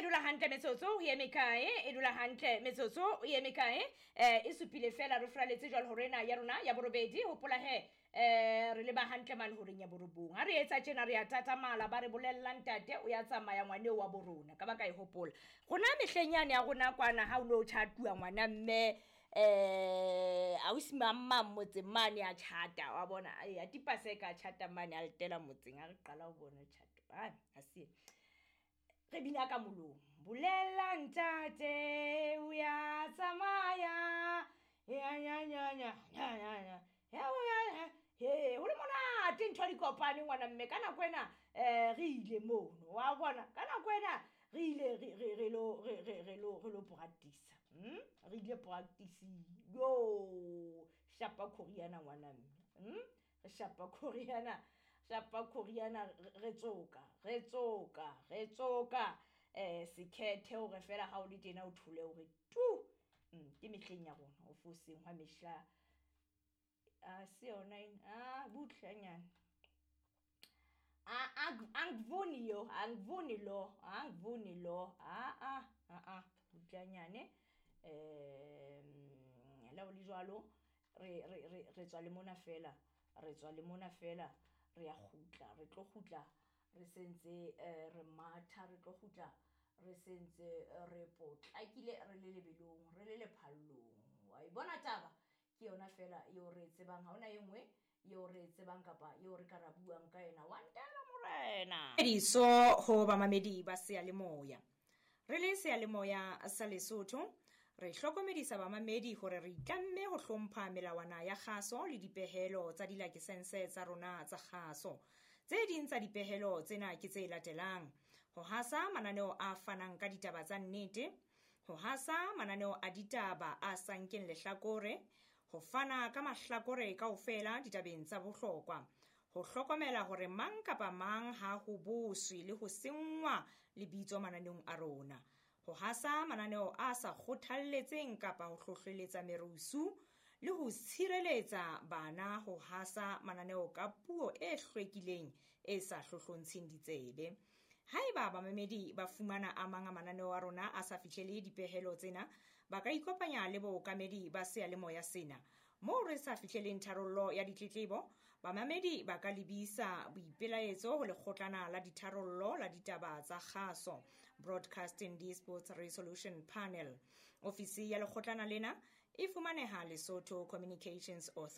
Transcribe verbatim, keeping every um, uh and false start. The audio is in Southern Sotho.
dula hantle metsotso o eme kae? E dula hantle metsotso o eme kae? Eh e supile fela re fraletse jwalo hore ena ya rona ya borobedi. Hopola he eh re leba hantle mane horeng ya borobong. Ha re etsa tjena re ya tatamala, ba re bolella ntate o ya tsamaya ngwane wa borona ka ba ka e hopola. Rona mehleng yane ya rona kwana ha o no tjhatuwa ngwana mme eh ausi mamma motseng mane ya tjhata wa bona ya tipaseka tjhata mane a letela motseng ha re qala ho bona tjhato. Ha ha se re bina ka molomo. Bolela ntate o ya tsamaya ya nya nya nya nya nya nya ya ya he ho le monate ntho di kopane ngwana mme ka nako ena eh re ile mono wa bona ka nako ena re ile re re re lo re re re lo re lo practice hm re ile practice yo shapa khoriana ngwana mme hm re shapa khoriana shapa khoriana re tsoka re tsoka re tsoka eh sekhethe hore fela ha o le tena o thole hore tu ke mehleng ya rona o foseng hwa mehla a se yona ena ah butlanyana a angivuni yo angivuni lo angivuni lo a a a a butlanyane eh la o le jwalo re re re re tswa le mona fela re tswa le mona fela re ya kgutla re tlo kgutla re sentse re matha re tlo kgutla re sentse re potlakile re le lebelong re le lephallong wa e bona taba ke yona fela eo re tsebang ha hona e nngwe eo re tsebang kapa eo re ka ra buang ka yena wa ntela morena diso ho bamamedi ba seyalemoya re le seyalemoya sa Lesotho re hlokomedisa bamamedi hore re itlamme ho hlompha melawana ya kgaso le dipehelo tsa dilakesense tsa rona tsa kgaso. Tse ding tsa dipehelo tsena ke tse latelang: ho hasa mananeo a fanang ka ditaba tsa nnete, ho hasa mananeo a ditaba a sa nkeng lehlakore, ho fana ka mahlakore kaofela ditabeng tsa bohlokwa, ho hlokomela hore mang kapa mang ha ho boswe le ho senngwa lebitso mananeong a rona, ho hasa mananeo a sa kgothalletseng kapa ho hlohleletsa merusu le ho tshireletsa bana ho hasa mananeo ka puo e hlwekileng e sa hlohlontsheng ditsebe. Haeba bamamedi ba fumana a mang a mananeo a rona a sa fihlele dipehelo tsena, ba ka ikopanya le bookamedi ba seyalemoya sena. Moo re sa fihleleng tharollo ya ditletlebo, bamamedi ba ka lebisa boipelaetso ho lekgotlana la ditharollo la ditaba tsa kgaso, Broadcasting Disputes Resolution Panel. Ofisi ya lekgotlana lena e fumaneha Lesotho Communications Authority.